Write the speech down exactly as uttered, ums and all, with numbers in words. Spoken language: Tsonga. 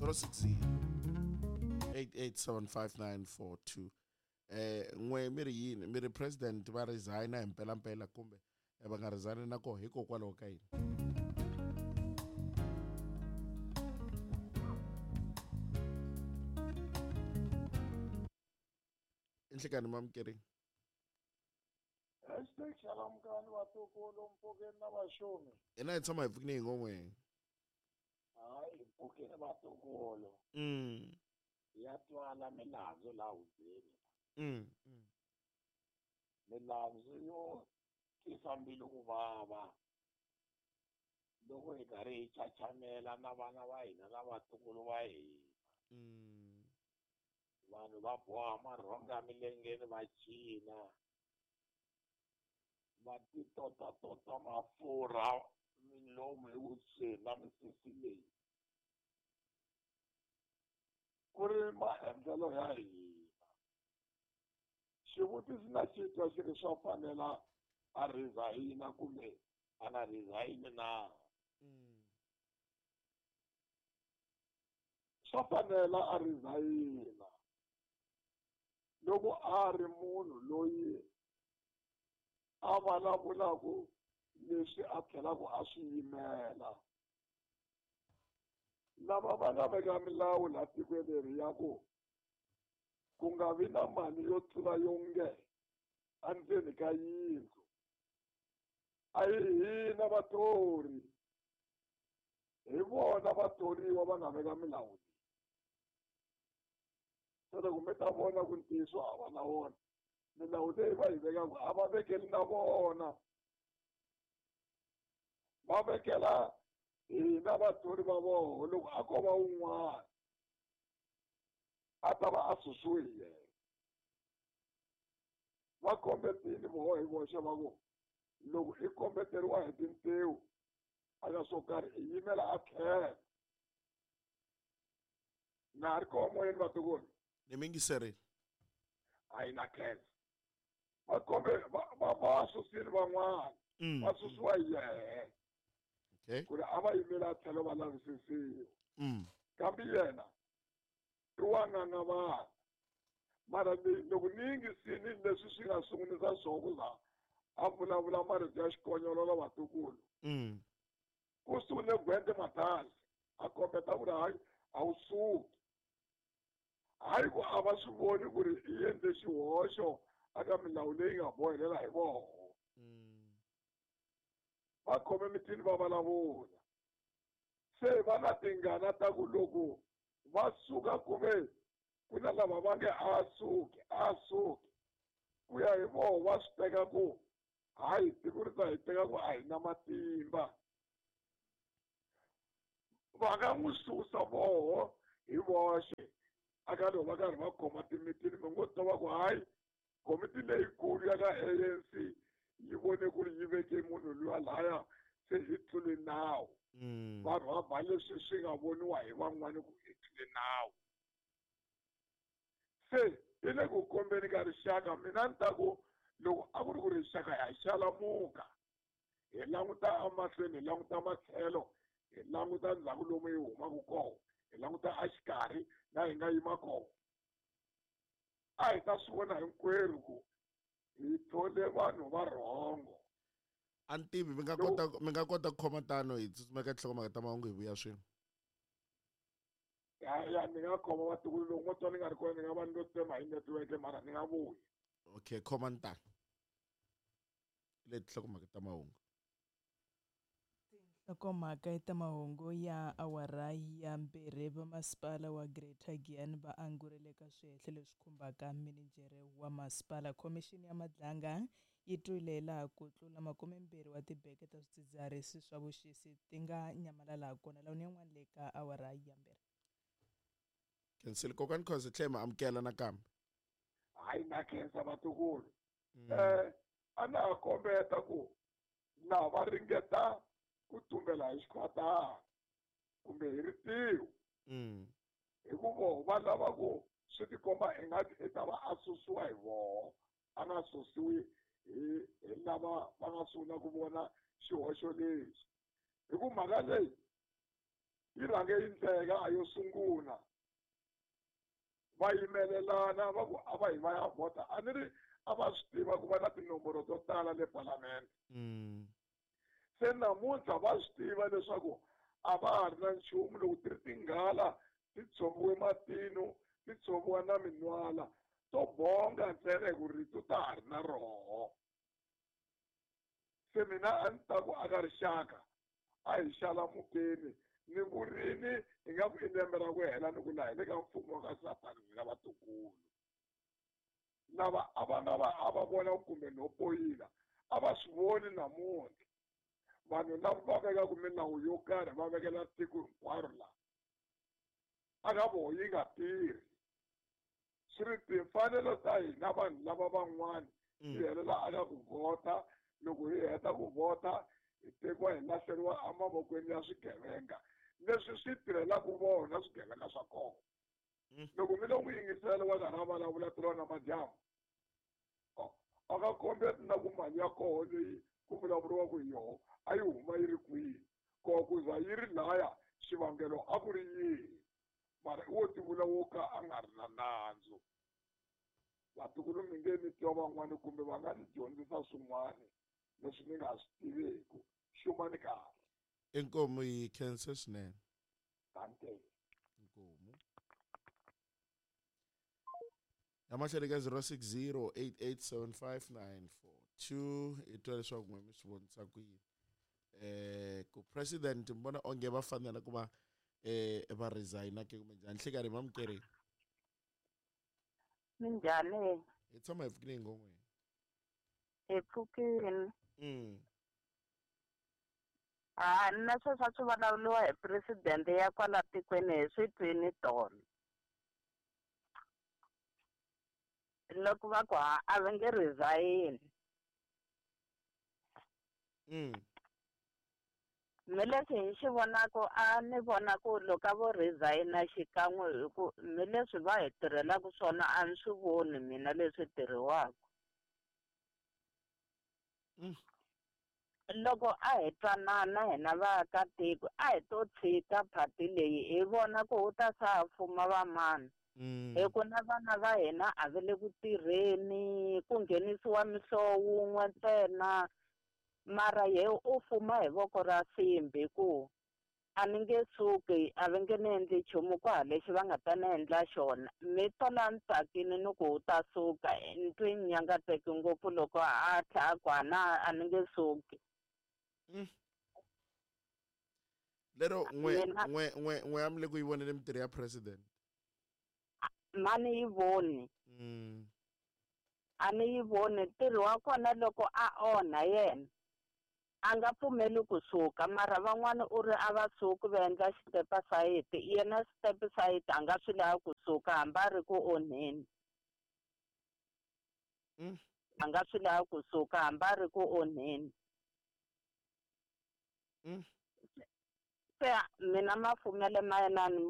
zero six zero eight eight seven five nine four two. Eh n'we mi ri yini mi ri president va resigna hi mpelampela kumbe va nga resigni na koho hikokwalaho ka yini? Inhlekani mamukeri. Hashtag xalamukani vatukulu mpfukeni na vaxumi. Ina hi tshama hi pfukini hi ngon'we. Hayi mpfukeni vatukulu. Mm. Ya twala milandzu laha hubyeni. Mm. Mm. Milandzu yo tisa mbilu ku vava loko hi karhi hi chachamela na vana va hina na vatukulu va hina. Mm. Vanhu va boha marhonga milengeni va cina va titotatota mafurha milomu hi vusweni na misisi leyi ku ri maendlelo ya hina. Xivutiso na xi twa xi ri swa fanela a resign kumbe a nga resign na? Swa fanela a resign loko a ri munhu loyi a vulavulaka leswi a tlhelaku a swi yimela. Lava va nga veka milawu laha tikweni leri ya ku ku nga vi na mali yo tlula yo nge endzeni ka yindlu, a hi hina vathori, hi vona vathoriwa va nga veka milawu leyi. Se loko mi ta vona ku ntiyiso a va na wona, milawu leyi va yi vekaka a va vekeli na vona, va vekela hina vathori va vona. Loko a ko va wun'wana a ta va a susiwe hi yena. Va kombetile voho hi voxe va ku loko i kombeteriwa hi tintiho a ka swo karhi i yimela a tlhela. Na ha ri koho moyeni vatukulu? Ni mi yingiserile. A yi na khensa. Va kombe va va va susile van'wana, va susiwa hi yehe. Okay. Ku ri a va yimela a tlhelo va lavisisiwa. Mm. Kambe yena i wa n'anga vanhu. Mara loko ni yingisile leswi swi nga sungulisa swona ku za a vulavula marito ya xikonyololo vatukulu. Mm. Ku sungule Gwede Mantashe a kombeta ku ri hayi a wu suki. Hayi ku a va swi voni ku ri i endle xihoxo aka milawu leyi nga bohelela hi voho. Mm. Va khome mitini va vulavula. Se va na tingana ta ku loko va suka kumbe ku na lava va nge a suki a suki, ku ya hi voho va swi teka ku hayi tiko ri ta hi teka ku a hi na matimba. Va nga n'wi susa voho hi voxe aka loko va karhi va khoma timitini mi ngo twa va ku hayi komiti leyikulu ya ka A N C yi vone ku ri yi veke munhu luya laya se hi tlule nawu. Vanhu va ba leswi swi nga voniwa hi van'wani ku hi tlule nawu. Se i le ku kombeni ka rixaka. Mina ni ta ku loko a ku ri ku rixaka ha xalamuka, hi languta emahlweni, hi languta matlhelo, hi languta ndzhaku lomu hi humaka kona, hi languta exikarhi laha hi nga yima kona, a hi ta swi vona hinkwerhu ku hi thole vanhu va rhongo. A ni tivi mi nga kota mi nga kota ku khoma tano hi tsutsuma eka tinhlokomhaka ta mahungu hi vuya swin'we. Ya ya ni nga khoma vatukulu loko mo twa ni nga ri kona ni nga va ni lo tsema hi network mara ni nga vuyi. Okay, khoma ni tano. Leti tinhlokomhaka ta mahungu. Nhlokomhaka ta mahungu ya awara ya mbirhi. Vamasipala wa Greater Giyani va angurile ka swihehlo leswi khumbaka mininjhere wa masipala. Khomixini ya Madlanga yi twile laha ku tlula makumembirhi wa tibeke ta swidzidziharisi swa vuxisi ti nga nyamalala kona. Lawuni yin'wana le ka awara ya mbirhi. Khensile kokwana Khoza tlhela ma amukela nakambe. Hayi na khensa vatukulu. Eh a na ha kombeta ku na va ringeta ku tumbela hi xikhwatana kumbe hi ritiho. Mm. Hi ku voho va lava ku swi tikomba ingaku i ta va a susiwa hi voho, a nga susiwi hi hi lava va nga sungula ku vona xihoxo lexi. Hi ku mhaka leyi Yi rhange yi ndleka a yo sungula. Va yimelelana va ku a va hi va ya vhota a ni ri a va swi tiva ku va na tinomboro to tala le palamende. Se namuntlha va swi tiva leswaku a va ha ri na nchumu loko ti ri tinghala ti tshoviwe matino ti tshoviwa na minwala to bonga ntsena hi ku rito ta ha ri na roho. Se mina a ni ta ku aka rixaka a hi xalamukeni ni vurini hi nga ku i lembe ra ku hela ni ku laha hi le ka mfumo wa ka Satani n'wina vatukulu. Lava a va nga va a va vona kumbe no poyila a va swi voni namuntlha. Vanhu lava va vekaka milawu yo karhi va vekela tiko hinkwaro laha a nga voho yi nga tirhi. Swi ri timfanelo ta hina vanhu lava van'wana ti helela aka ku vhota. Loko hi heta ku vhota hi tekiwa hi lahleriwa emavokweni ya swigevenga leswi swi tirhelaka vona swigevenga swa kona. Loko mi lo n'wi yingisela wa karhi a vulavula tolo na madyambu a nga kombeti na ku mali ya koho leyi ku vulavuriwaka hi yoho a yi huma yi ri kwihi koho ku za yi ri laya xivangelo a ku ri yihi mara i wo tivula wo ka a nga ri na nandzu. Vatukulu mi nge mi twa van'wani kumbe va nga ni dyondzisa swin'wana leswi ni nga swi tiveku. Xumani kahle. Inkomu yi khensa swinene. Tante. Inkomu. Yamahleni ka zero six zero eight eight seven five nine four two i twa leswaku n'we mi swi vonisa ku yini. Eh ku president mi vona onge va fanela ku va eh va resign ke kumbe njhani nhlikani mamukeri. Minjhani? Hi tshama hi pfukile ngomweni. Hi pfukile. Mm. Ah, na sweswo swi vulavuriwa hi president ya kwala tikweni hi swi twini tolo. Loko va ku a va nge resign. Mm. Me leswi hi xi vonaka a ni vona ku loko a vo resign-a xikan'we hi ku me leswi va hi tirhelaka swona a ni swi voni mina leswi tirhiwaka. Mm. Loko a hi twanana hina vaakatiko a hi to tshika phati leyi hi vona ku wu ta sa fuma vamani. Mm. Hi ku na vana va hina a va le ku tirheni ku nghenisiwa mihlovo wun'we ntsena mara ye u fuma hi voko ra simbi ku a ni nge suki a va nge ni endli nchumu kwaha lexi va nga ta ni endla xona. Mi tola ni tsakile ni ku u ta suka ni twi ni nyangatseki ngopfu loko a tlha a ku a na a ni nge suki. Mm. Lero n'we Mina n'we n'we n'we a mi le ku yi voneni mintirho ya president. Mani yi voni. Mm. A ni yi voni ntirho wa kona loko a onha yena a nga pfumeli kusuka mara van'wana u ri a va suki va endla step aside yena step aside a nga swi lavi kusuka hambi a ri ku onheni. Mm. A nga swi lavi kusuka hambi a ri ku onheni. Mm. Se mina mafumele ma yena ni